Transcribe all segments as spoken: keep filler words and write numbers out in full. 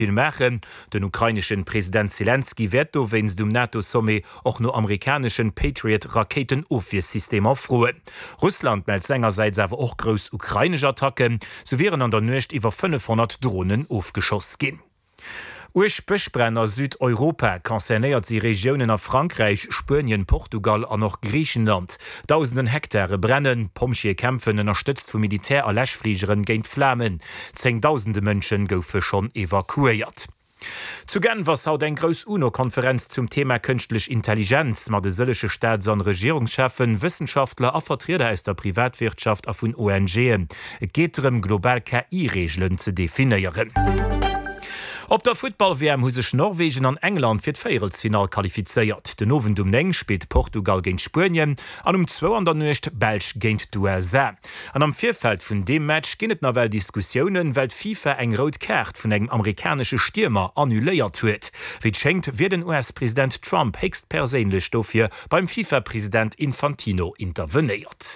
Vill maachen. Den ukraineschen President Selenskyj wäert dowéinst um NATO-Sommet och no amerikaneschen Patriot-Rakéitenofwiersystemer froen. Russland mellt sengersäits awer och grouss ukrainesch Attacken, sou wieren an der Nuecht iwwer fënnefhonnert Dronen ofgeschoss ginn. Uerg Bëschbränn a Südeuropa, Concernéiert si Regiounen a Frankräich, Spuenien, Portugal an och Griichenland. Dausenden Hektare brennen, Pompjeeë kämpfen, ënnerstëtzt vu Militär a Läschfligeren, géint d'Flamen. Zéngdausende Mënsche goufe schonn evakuéiert. Zu Genf ass haut eng grouss UNO-Konferenz zum Thema Kënschtlech Intelligenz mat e sëllege Staats an Regierungscheffen, Wëssenschaftler a Vertrieder aus der Privatwirtschaft a vun ONGen. Et geet drëm, global K I Reegelen ze definéieren. Op der Futtball-W M hu sech Norwegen an England fir d'Véierelsfinall qualifizéiert. Den Owend um néng spillt Portugal géint Spuenien an um zwou an der Nuecht d'Belsch géint d'U S A. An am Virfeld vun deem Match ginn et nawell Diskussiounen, well d'FIFA eng rout Kaart vun engem amerikanesche Stiermer annuléiert huet. Wéi et schéngt, wier den U S-President Trump héchstperséinlech dofir beim FIFA-President Infantino intervenéiert.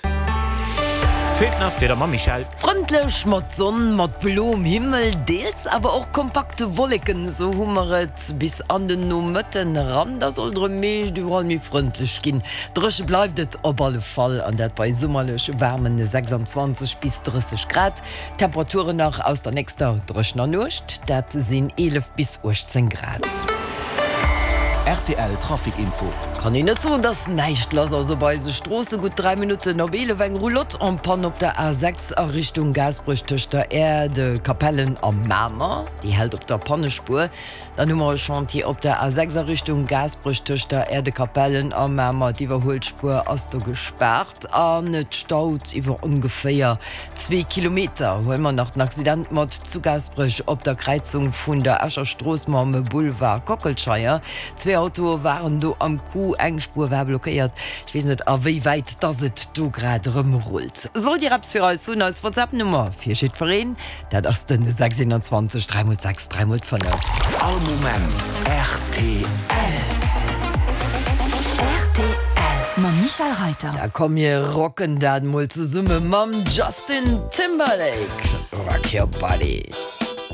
Feelt nach d'Wieder mam Michèle. Frëndlech mat Sonn, mat bloem Himmel, deels awer och kompakte Wolleken, esou hu mer et bis an den Nomëtten eran. Da soll et erëm meescht iwwerall méi frëndlech ginn. Dréche bleift et op alle Fall, an dat bei summerlech waarmen sechsanzwanzeg bis drësseg Grad. D'Temperaturen nach aus der nächster dréchener Nuecht, dat sinn eelef bis uechtzéng Grad. R T L Trafic Info. Kann een net soen, dass näischt lass ass op eise Stroosse. Gutt dräi Minutten op eelef, eng Roulotte en panne op der A sechs a Richtung Gaasperech tëscht der Aire de Capellen a Mamer. Déi hält op der Pannespuer. Dann hu mer e Chantier op der A sechs a Richtung Gaasperech tëscht der Aire de Capellen a Mamer. D'Iwwerhuelspuer ass do gespaart an et staut iwwer ongeféier zwee Kilometer. Huele mer nach den Accident mat zu Gaasperech op der Kräizung vun der Escher Strooss mam Boulevard Kockelscheier. Zwee Autoe waren do am Coup, eng Spuer war blockéiert. Ech weess net a wéi wäit dass et do grad erëm rullt. Sollt Dir eppes fir eis hunn, eis WhatsApp-Nummer fir jiddwereen, dat ass den sechs einundzwanzeg dräi mol sechs dräi mol fënnef. All Moment R T L. R T L mam Michèle Reiter. Da komm mir rocken dat mol zesumme mam Justin Timberlake, Rock Your Body.